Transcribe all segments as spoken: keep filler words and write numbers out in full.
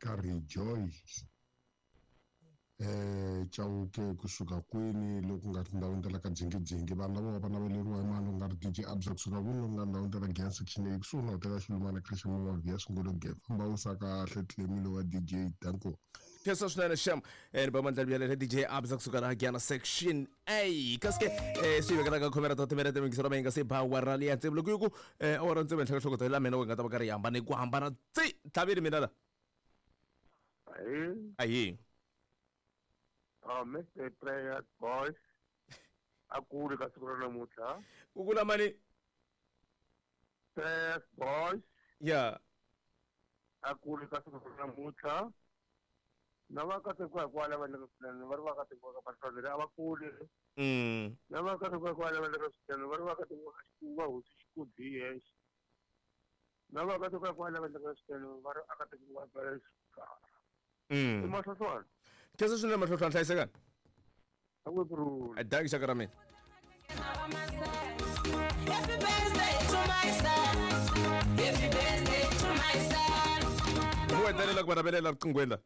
ka Rejoice eh Chauke kusuka kwini loko nga tindhawini ta la ka Jingijingi vanhu lava va naveleriwa hi mali u nga ri D J Abza kusuka kwini loko nga ndhawini ta la Giyani section A kusuhi na hotela Xilumana Christian Mavia Sungolo Gap famba u sa kahle Clemilo wa D J danko Khensa swinene xem eh ni ba mandla bya D J Abza kusuka la Giyani section A kaske eh swi vekela ka khomera ta timere ta mingisero ma nga se ba wa rali ya tsevu loko ku eh awara ntsevu henhla ka nhloko ta la mina u nga ta va karhi hambana ku hambana tsi tlhaveli mina la Ayi ayi Ah, Mister Prayer Boys akuli ka siku ra namuntlha ku kula mani Prayer Boys ya akuli ka siku ra namuntlha na va katekiwa hikwalaho va endlaka swinene va ri va katekiwa ka vahloneri a va kuli mm na va katekiwa hikwalaho va endlaka swinene va ri va katekiwa ka xikunga hosi xikudzi hi yexe na va katekiwa hikwalaho va endlaka swinene va ri a katekiwa ka xikarhi mm i mahlohlwana khensa swinene mahlohlwana hlayisekani a ku kurhula danki xaka ra mina Happy birthday to my son. Happy birthday to my son. ku hetelela ku va navelela riqinghweni la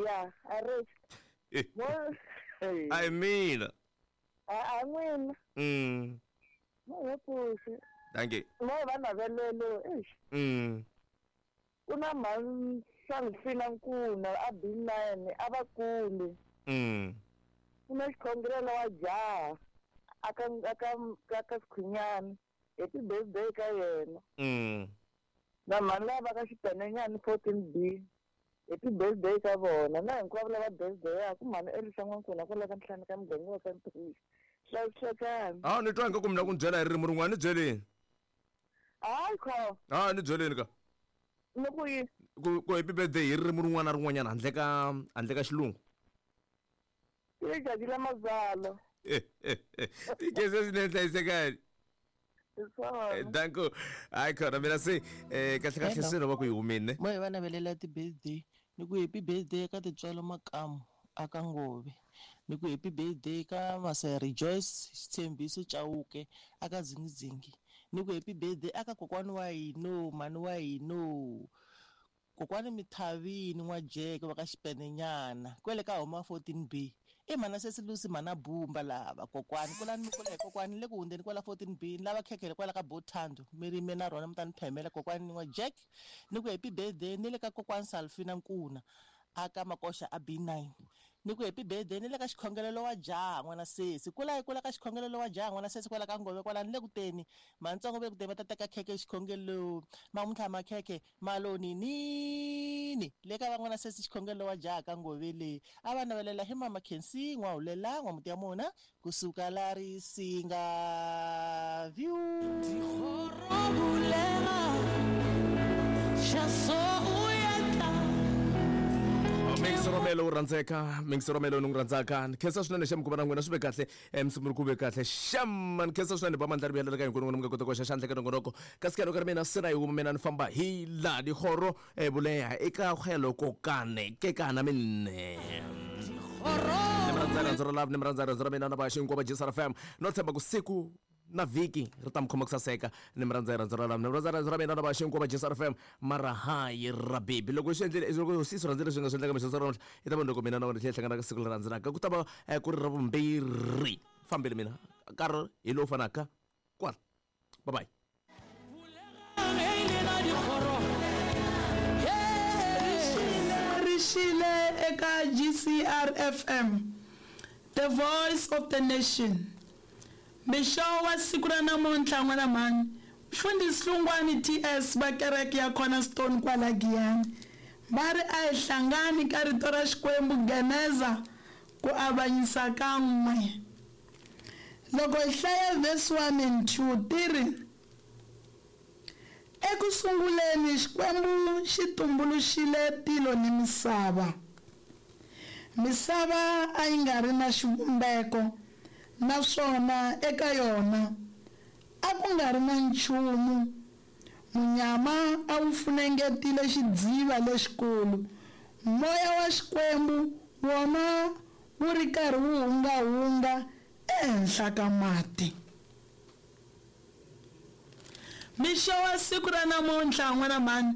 ya a ri mo a hi mina a a n'wina mm mo he pfuxi danki mo va navelelo eish mm ku na mhani Salfina Nkuna a B nine a va kuli mm ku na xikhongelelo wa jaha aka aka ka Sikhunyana happy birthday ka yena mm na mhani lava va ka Xipenenyana fourteen B happy birthday ka vona na hinkwavo lava birthday-aku mhani Elisa N'wankuna kwala ka ntlhanu ka muganga wa ka Ntrishi hlayisekani a ni twa ingaku mina ku ni byela hi ririmi rin'wana ni byeleni hayi kho a ni byeleni ka ni ku yi ku ku happy birthday hi ririmi rin'wana na rin'wanyana handle ka handle ka xilungu i letšatši la mazalo tikese swinene hlayisekani hi swona danko hayi khona mina se um kahle kahle se no va ku yi humile mo hi va navelela ti-birthday ni ku happy birthday ka Tintswalo Makamu aka Ngove ni ku happy birthday ka Masaya Rejoice Xitshembiso Chauke aka Dzingidzingi ni ku happy birthday aka kokwani wa hino mhani wa hino kokwani Mithavini N'wajeke va ka Xipenenyana kwele ka homa fourteen B i mhana Sesilusi mhana Bumba lava kokwani kulani mi kula hi kokwani le ku hundzeni kwala fourteen B ni lava khekhele kwala ka Bothando mi rime na rona mi ta ni phemela kokwani N'wajeke ni ku happy birthday ni le ka kokwani Salfina Nkuna aka Makoxa a B nine ni ku happy birthday ni le ka xikhongelelo wa jaha n'wana sesi kula hi kula ka xikhongelelo wa jaha n'wana sesi kwala ka Ngove kwala ni le ku teni mantsongo ve ku teni va ta teka khekhe xikhongelo mamuntlha makhekhe maloni nini le ka van'wana sesi xikhongelo wa jaha ka Ngove le a va navelela hi mama Khensi N'wahulela n'wamuti ya mona kusuka la Risinga view Mix Romelo u rhandzeka Mix Romelo ni n'wi rhandzaka ni khensa swinene xem ku va na n'wina swi ve kahle msumuri ku ve kahle xem ni khensa swinene ba mandla ri vuyelela ka hinkwenu n'wina mi nga kota ku hoxa xandla ka nongonoko kasi ka loko ri mina se na yi huma mina ni famba hi laha dikgoro buleha eka kgwelo kokane ke kana minne ni mi rhandza rhandzu ra love ni mi rhandza rhandzu ra mina na vaxi hinkwavo va G S R F M no tshemba ku siku na vhiki ri ta mi khoma ku saseka ni mi rhandza rhandzu ra love ni mi rhandza rhandzu ra mina na vaxi hinkwavo va G S R F M mara hayi ra baby loko swi endlile loko sisi rhandzile swi nga swi endleka mixo ra namuntlha i ta va loko mina na wena tlhela hlangana ka siku leri landzelaka ku ta va ku ri ra vumbirhi fambile mina nkarhi hi lowu fanaka kwala bye bye Rixile eka G C R F M The Voice of the Nation mixo wa siku ra namuntlha n'wana mhani mfundhisi Hlungwani T S va kereke ya Cornerstone kwala Giyani va ri a hi hlangani ka rito ra Xikwembu Geneza ku avanyisa ka n'we loko hi hlaya verse one and two ti ri eku sunguleni Xikwembu xi tumbuluxile tilo ni misava misava a yi nga ri na xivumbeko naswona eka yona a ku nga ri na nchumu munyama a wu funengetile xidziva lexikulu moya wa Xikwembu wona wu ri karhi wu hungahunga ehenhla ka mati mixo wa siku ra namuntlha n'wana mhani